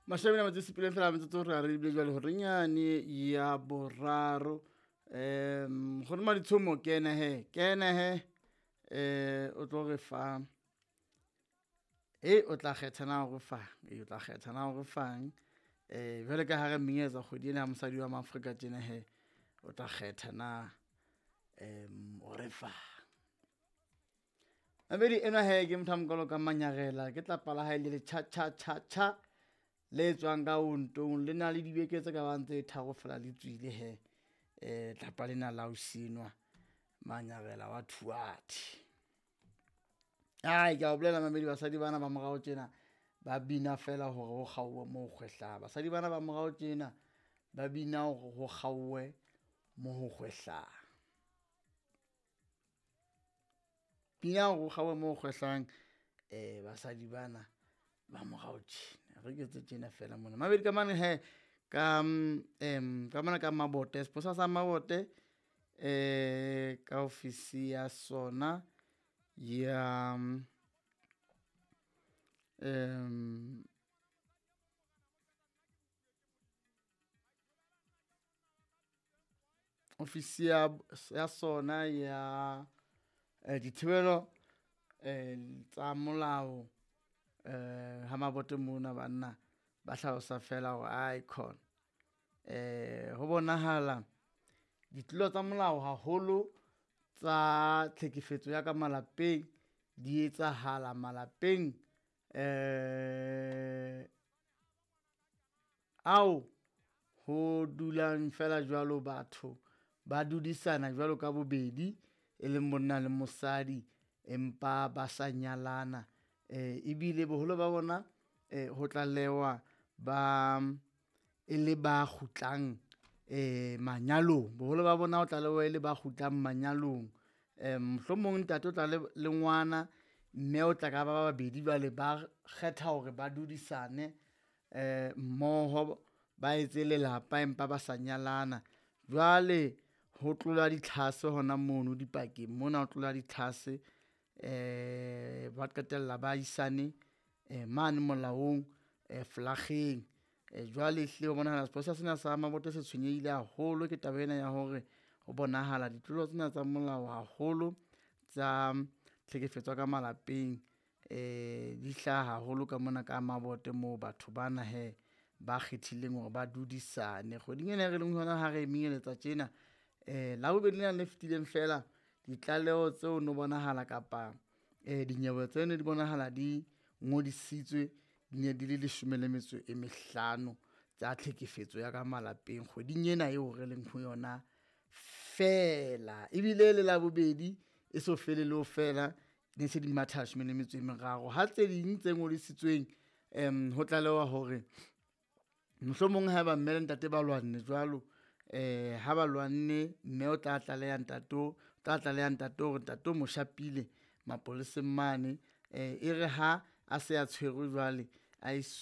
Mashome a metso e supileng fela metsotso re re ebile jwale horeng yane ya boraro. Nkgono Maditshomo kena he, kena he, o tlo re fa e o tla kgetha na o re fang, e o tla kgetha na o re fang. Jwale ka ha re menyetsa kgwedi ena ya mosadi wa Maafrika tjena he, o tla kgetha na o re fang. Mamedi enwa he ke motho a mokalo ka manyarela, ke tlapa la hae le le cha cha cha cha le tswang ka ontong, le na le dibeke tse ka bang tse tharo fela le tswile he. Tlapa lena la ausi enwa Manyarela wa Thuathi. Ai ke a o bolela mamedi, basadi bana ba morao tjena ba bina fela hore ho kgaowe mo ho kgwehlang. Basadi bana ba morao tjena ba bina hore ho kgaowe mo ho kgwehlang. Bina hore ho kgaowe mo ho kgwehlang, basadi bana ba morao tjena. Re ke tse tjena fela mona. Mamedi ka mane he, ka mona ka Mabote, sepolesa sa Mabote ka ofisi ya sona ya ofisi ya sona ya dithibelo tsa molao ha Mabote mona banna ba hlalosa fela hore ai khona. Ho bonahala ditlolo tsa molao haholo tsa tlhekefetso ya ka malapeng di etsahala malapeng ao ho dulang fela jwalo batho ba dudisana jwalo ka bobedi e leng monna le mosadi empa ba sa nyalana. Ebile boholo ba bona ho tlalewa ba e le ba kgutlang manyalong, boholo ba bona ho tlalewa e le ba kgutlang manyalong. Mohlomong ntate o tla le ngwana, mme o tla ka ba babedi jwale ba kgetha hore ba dudisane mmoho ba etse lelapa empa ba sa nyalana. Jwale ho tlola ditlhase hona mono dipakeng mona, ho tlola ditlhase ba qetella ba isane mane molaong flakgeng. Jwale ehlile ho bonahala sepolesa sena sa Mabote se tshwenyehile haholo ke taba ena ya hore ho bonahala ditlolo tsena tsa molao haholo tsa tlhekefetso ya ka malapeng di hlaha haholo ka mona ka Mabote moo batho bana he ba kgethileng hore ba dudisane. Kgweding ena e re leng ho yona ha re menyeletsa tjena, Labobedi lena le fetileng fela ditlaleho tseo no bonahala kapa dinyewe tse ne di bonahala di ngodisitswe di ne di le leshome le metso e mehlano tsa tlhekefetso ya ka malapeng kgweding ena eo re leng ho yona fela. Ebile le Labobedi e so fele le ho fela ne se di matha leshome le metso e meraro. Ha tse ding tse ngodisitsweng ho tlalewa hore mohlomong haeba mme le ntate ba lwanne jwalo, ha ba lwanne mme o tla tlaleha ntate o tla tlaleha ntate hore ntate o mo shapile mapoleseng mane. E re ha a se a tshwerwe jwale a .